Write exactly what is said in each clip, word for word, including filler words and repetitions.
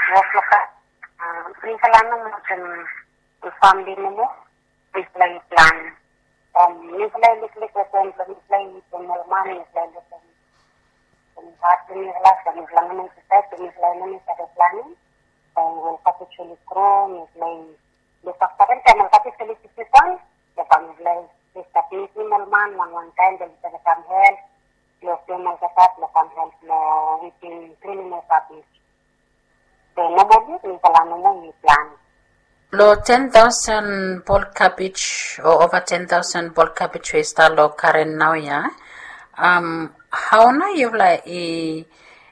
Wok blong kapej, mifala nomo olsem famili nomo mifala i plan. Mifala i lukluk olsem blong mifala i yupim ol man, mifala i lukim olsem hat blong mifala, so mifala nomo i disaed se mifala i no save planim. Ol kapej oli gro, mifala i lukaftarem taem ol kapej oli pikinpon. So bae mifala i stap mitim ol man wanwan taem blong oli save kam help long pem olgeta blong kam help long weeding, klinim ol kapej. So nomali mifala nomo i plan. Long ten taosen bol kapej o ova ten taosen bol kapej we i stap long karen naoia, hao nao yufala i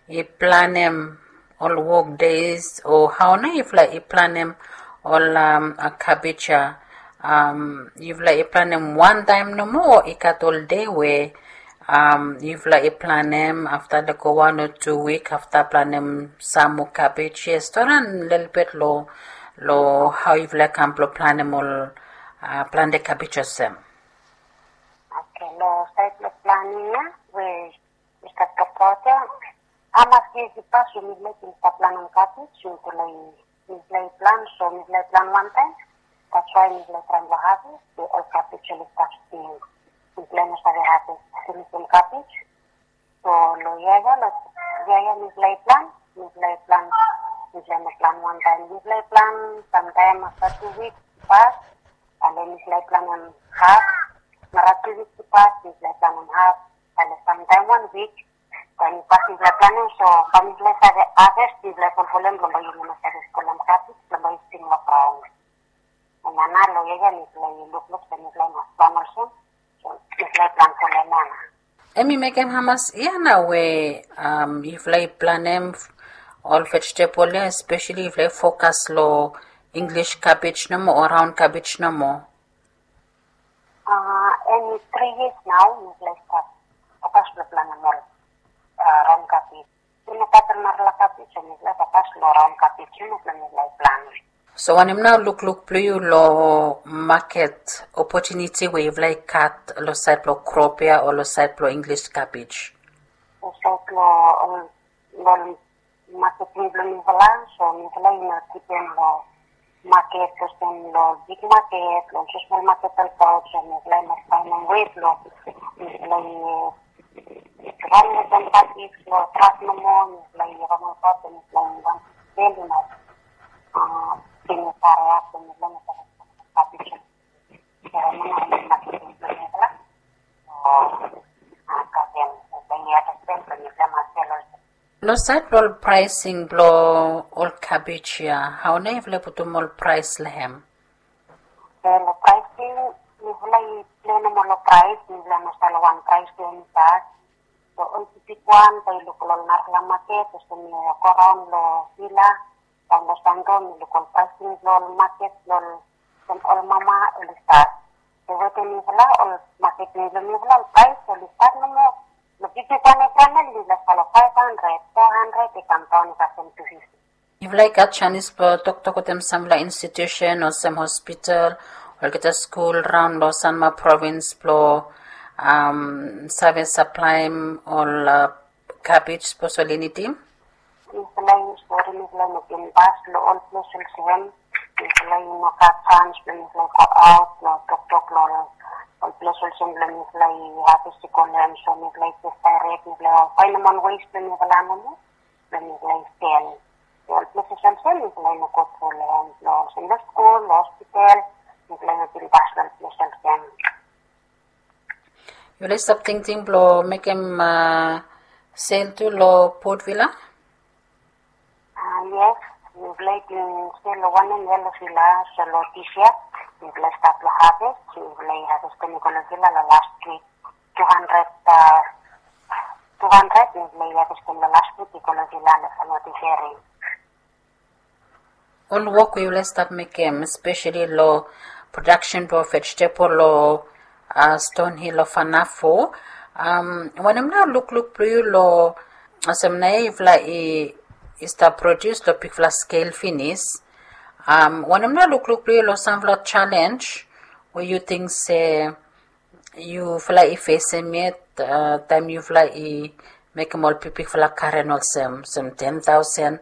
i planem ol wok des o hao nao yufala i planem ol kapej ya? Yufala i planem wantaem nomo o i gat ol dei we yufala i planem afta lego wan o tu wik afta planem sam moa kapej? Yes, toran lelebet long long hao yufala i kam blong planem ol plante kapej olsem. Oke, long saed blong planem ya we mi stap tokbaot ya, hamas yia i pas we mifala i bin stap planem kapej, mifala i plan, so mifala i plan wantaem. That's why mifala i traem blong haves we ol kapej oli stap stil. Mifala i no save haves finisim kapej. So long yia ya, long yia ya mifala i plan, mifala i plan, mifala i no plan wantaem. Mifala i plan samtaem afta tu wik i pas, ale mifala i planem haf. Nara tu wik i pas mifala i planem haf, ale samtaem wan wik. Taem i pas mifala i planem, so bae mifala i save haves, mifala i folfolem blong bae yumi no save spolem kapej blong bae i sting long graon. Nana long yia ya mifala i lukluk se mifala i mas plan olsem. So mifala i plan folem ya nao. Hemi mekem hamas yia nao we yufala i planem ol vejetebol ya, espeseli yufala i fokas long English kapej nomo o raon kapej nomo? Hemi tri yias nao mifala i stap fokas blong planem ol raon kapej. Mifala i gat narafala kapej, so mifala i fokas long raon kapej ya nao blong mifala i plan. So wanem nao lukluk blong yu long maket opotuniti we yufala i gat long saed blong krop ya o long saed blong English kapej? Long saed blong ol maket blong mifala, so mifala i no dipen long maket olsem long big maket, long smol maket olbaot, so mifala i mas faenem wei blong mifala i raon wetem kapej long trak nomo, mifala i raon olbaot, mifala i wantem sel i mas pinis hariap, mifala i mas kapej. Long saed blong ol praesing blong ol kapej ya, hao nao yufala i putum ol praes long hem? Long praesing, mifala i plenem ol praes, mifala i no save wan praes we i stap. So ol bigwan bae yu luk long ol narafala maket olsem yu go raon long Vila, raon long Santo, mi luk ol praesing blong ol maket blong ol mama oli stat. So wetem mifala ol maket blong mifala ol praes oli stat nomo. Long bigwan evriwan oli mifala stap long faef handred, fo handred i kam daon i kasem tu fifti. Yufala i gat janis blong toktok wetem samfala institusen olsem hospital, olgeta skul raon long Sanma provins blong save saplaem ol kabej sapos oli nidim? Mifala i stori, mifala i no bin pas long ol ples olsem. Mifala i no gat jans blong mifala i goaot blong toktok long ol ples olsem blong mifala i haves i go long hem. So mifala i jes daerek, mifala i faenem wan wes blong mifala nomo blong mifala i sel. Ol ples olsem mifala i no go tru long hem, long olsem long skul, long hospital, mifala i no bin pas long ol ples olsem. Yufala i stap tingting blong mekem sel tu long Port Vila? Yes, mifala i bin sel long wanem yia long Vila, so long dis yia mifala i stap long haves, mifala i havestem i go long Vila long las wik. Tu handred, tu handred mifala i havestem long las wik i go long Vila long Sanma Tiveri. Ol wok we yufala i stap mekem, espeseli long prodaksen blong vejetebol long Stonhill o Fanafo, wanem nao lukluk blong yu long olsem naoia yufala i stap prodius long bigfala skel finis? Wanem nao lukluk blong yu long samfala jalenj we yu ting se yufala i fesem yet taem yufala i mekem ol bigbigfala garen olsem, olsem ten taosen